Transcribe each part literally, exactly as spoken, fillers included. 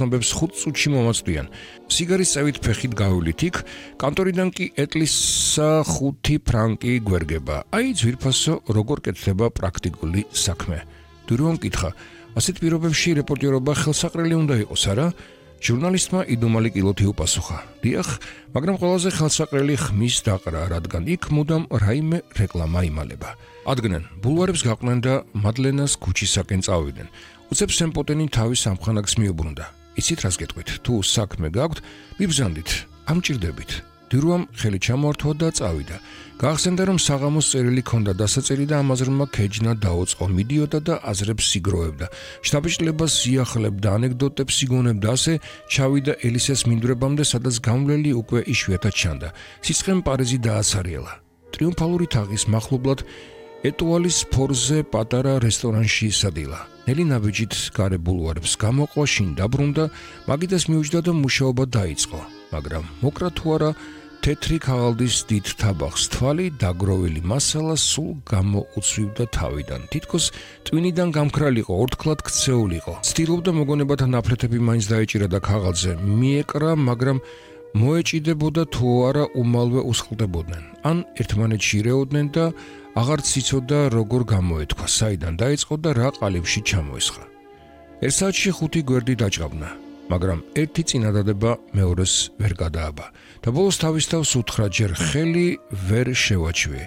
ნობებს ხუთ წუთში მომაწვდიან. სიგარის წევით ფეხით გაივლით იქ, კანტორიდან კი ეტლისა ხუთი ფრანკი გვერგება. აი ძვირფასო როგორ კეთდება პრაქტიკული საქმე. დურიომ კითხა, ასეთ პირობებში რეპორტირობა ხელსაყრელი უნდა იყოს, არა? ჟურნალისტმა იდუმალი კილოთი უპასუხა. დიახ, მაგრამ ყველაზე ხელსაყრელი ხმის დაყრა, რადგან იქ მუდამ რაიმე რეკლამა იმალება. ადგნენ, ბულვარებს გაყვნენ და მადლენას ქუჩისაკენ წავიდნენ. უცებ სემპოტენი თავის სამხანაგს მიუბრუნდა. იცით რას გეტყვით? თუ საქმე გაქვთ, მიბრძანდით, ამჭირდებით. დირუამ ხელი ჩამოართვა და წავიდა. გაახსენდა, რომ საღამოს წერილი ჰქონდა დასაწერი და ამაზრმა ქეჯნა დაუწყო, მიდიოდა და აზრებს იგროვებდა. შთაბეჭდილებას იახლებდა, ანეკდოტებს იგონებდა, ასე ჩავიდა ელისეს მინდვრებამდე, სადაც გამვლელი უკვე იშვიათად ჩანდა. სიცხემ პარიზი დააცარიელა. ტრიუმფალური თაღის მახლობლად ეტუალის ფორზე პატარა რესტორანში ისადილა. ნელი ნაბიჯით გარე ბულვარებს გამოყვა, შინ დაბრუნდა, მაგიდას მიუჯდა და მუშაობა დაიწყო. მაგრამ მოკრა თუ არა, თეთრი ქაღალდის დიდ თაბახს თვალი დაგროვილი მასალა სულ გამოუცვივდა თავიდან. თითქოს ტვინიდან გამქრალიყო, ორთქლად ქცეულიყო. ცდილობდა მოგონებათა ნაფლეთები მაინც დაეჭირა და ქაღალდზე მიეკრა, მაგრამ მოეჭიდებოდა თუ არა უმალვე უსხლდებოდნენ. ან ერთმანეთში ირეოდნენ და აღარც იცოდა როგორ გამოეთქვა, საიდან დაიწყო და რა ყალიბში ჩამოესხა. ერთ საათში ხუთი გვერდი დაჭყაბნა, მაგრამ ერთი წინადადება მეორეს ვერ გადააბა და ბოლოს თავის თავს უთხრა, ჯერ ხელი ვერ შევაჩვიე.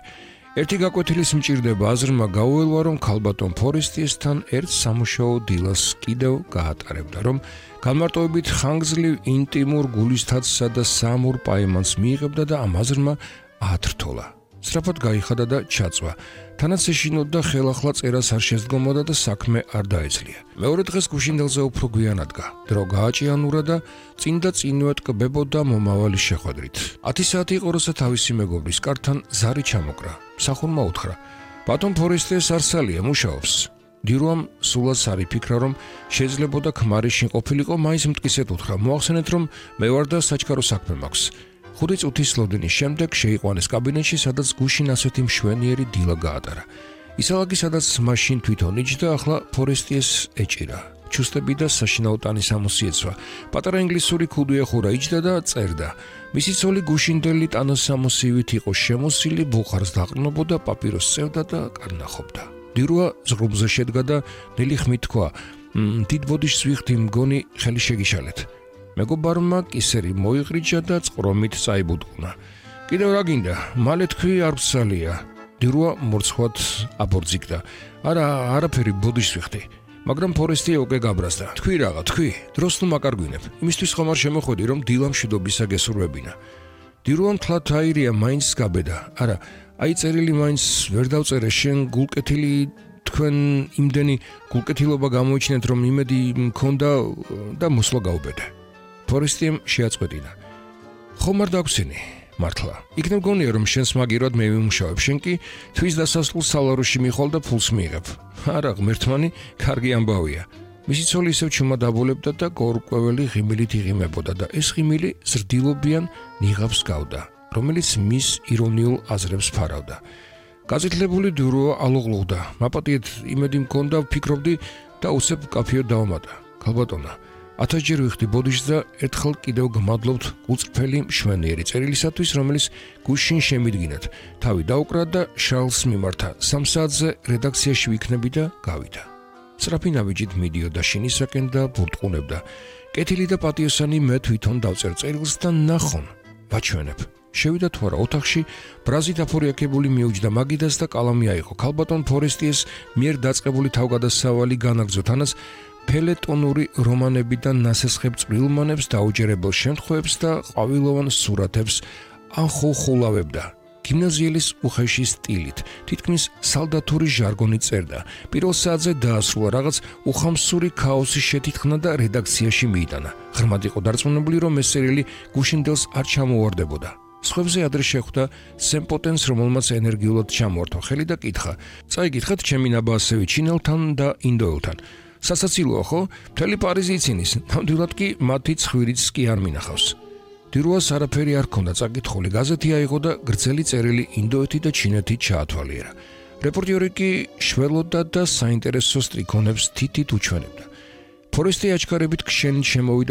ერთი გაკვეთილის მჭირდება აზრმა გაუელვა, რომ ქალბატონ ფორესტიესთან ერთ სამუშაო დილას კიდევ გაატარებდა, რომ განმარტოებით ხანგრძლივ ინტიმურ გულისთათსა და სამურ პაემანს მიიღებდა და ამ აზრმა ათრთოლა. სწრაფად გაიხადა და ჩაწვა. თანაც ეშინოდა, ხელახლა წერას არ შესდგომოდა და საქმე არ დაეძლია. მეორე დღეს გუშინდელზე უფრო გვიან ადგა. დრო გააჭიანურა და წინ და წინვე ტკბებოდა მომავალი შეხვედრით. ათი საათი იყო, როცა თავისი მეგობრის კართან ზარი ჩამოკრა. მსახურმა უთხრა, ბატონ ფორესტიეს არსალია, მუშაობს. დირუამ სულაც არ იფიქრა, რომ შეიძლებოდა ქმარი შინ ყოფილიყო, მაინც მტკიცედ უთხრა, მოახსენეთ, რომ მე ვარ და საჩქარო საქმე მაქვს. ხუთი წუთის ლოდინის შემდეგ შეიყვანეს კაბინეტში, სადაც გუშინ ასეთი მშვენიერი დილა გაატარა. ისალაგი სადაც მაშინ თვითონ იჯდა, ახლა ფორესტიეს ეჭირა. ჩუსტები და საშინაო ტანის ამოსი ეცვა. პატარა ინგლისური ქუდი ეხურა, იჯდა და წერდა. მისი ცოლი გუშინდელი ტანასამოსივით იყო შემოსილი, ბუხარს დაყრნობოდა, პაპიროს წევდა და კარნახობდა. დირუა ზღრუბზე შედგა და ნელი ხმით თქვა, დიდ ბოდიშს ვიხდი, მგონი ხელი შეგიშალეთ. მეგობარმა კისერი მოიღრიჯა და წყრომით წაიბუდყნა. კიდევ რა გინდა? მალე თქვი არ ვცალია. დირუა მორცხვად აბორძიგდა. არა, არაფერი, ბოდიშს ვიხდი. მაგრამ ფორესტია უკვე გაბრაზდა. თქვი რაღა, თქვი, დროს თუ მაკარგვინებ. იმისთვის ხომ არ შემოხვედი, რომ დილა მშვიდობისა გესურვებინა. დირუამ თლათ აირია, მაინც გაბედა. არა, აი წერილი მაინც ვერ დავწერე, შენ გულკეთილი თქვენ იმდენი გულკეთილობა გამოიჩინეთ, რომ იმედი მქონდა და მოსვლა გაუბედე. ფორესტიამ შეაწყვეტინა. ხომ არ დაგვრცინი? მართლა. იქნებ გონია, რომ შენს მაგირად მე ვიმუშავებ, შენ კი თვის დასასრულს სალაროში მიხვალ და ფულს მიიღებ. არა, ღმერთმანი, კარგი ამბავია. მისი ცოლი ისევ ჩუმად აბოლებდა და გორკვეველი ღიმილით იღიმებოდა და ეს ღიმილი ზრდილობიან ნიღაბს გავდა, რომელიც მის ირონიულ აზრებს ფარავდა. გაზეთლებული დუროა ალოღლუღდა. მაპატიეთ იმედი მქონდა, ვფიქრობდი და უცებ კაფეო დავამატა. ქალბატონა, ათასჯერ ვიხდი ბოდიშს და ერთხელ კიდევ გმადლობთ გულწრფელი მშვენიერი წერილისათვის, რომელიც გუშინ შემიდგინათ. თავი დაუკრა და შალს მიმართა. სამ საათზე რედაქციაში ვიქნები და გავიდა. სწრაფი ნაბიჯით მიდიოდა შინისაკენ და ბურტყუნებდა. კეთილი და პატიოსანი მე თვითონ დავწერ წერილს და ნახონ, ვაჩვენებ. შევიდა თუ არა ოთახში, ბრაზით აფორიაქებული მიუჯდა მაგიდას და კალამი აიღო. ქალბატონ ფორესტიეს მიერ დაწყებული თავგადასავალი განაგრძო, თანაც ფელეტონური რომანებიდან ნასესხებ წვრილმანებს, დაუჯერებელ შემთხვევებს და ყვავილოვან სურათებს ანხუხულავებდა. გიმნაზიელის უხეში სტილით, თითქმის სალდათური ჟარგონით წერდა. პირველ საათზე დაასრულა, რაღაც უხამსური ქაოსი შეთითხნა და რედაქციაში მიიტანა. ღრმად იყო დარწმუნებული, რომ ეს წერილი გუშინდელს არ ჩამოვარდებოდა. სხვებზე ადრე შეხვდა სემპოტენს, რომელმაც ენერგიულად ჩამოართვა ხელი და კითხა. წაიგითხეთ ჩემი ნაბაასევი ჩინელთან და ინდოელთან. სასაცილოა ხო? მთელი პარიზი იცინის, ნამდვილად კი მათი ცხვირიც კი არ მინახავს. დირუას არაფერი არ ქონდა წაკითხული, გაზეთი აიღო და გრძელი წერილი ინდოეთი და ჩინეთი ჩაათვალიერა. რეპორტიორი კი შველოდა და საინტერესო სტრიქონებს თითით უჩვენებდა. ფორესტი აჩქარებით ქშენით შემოვიდა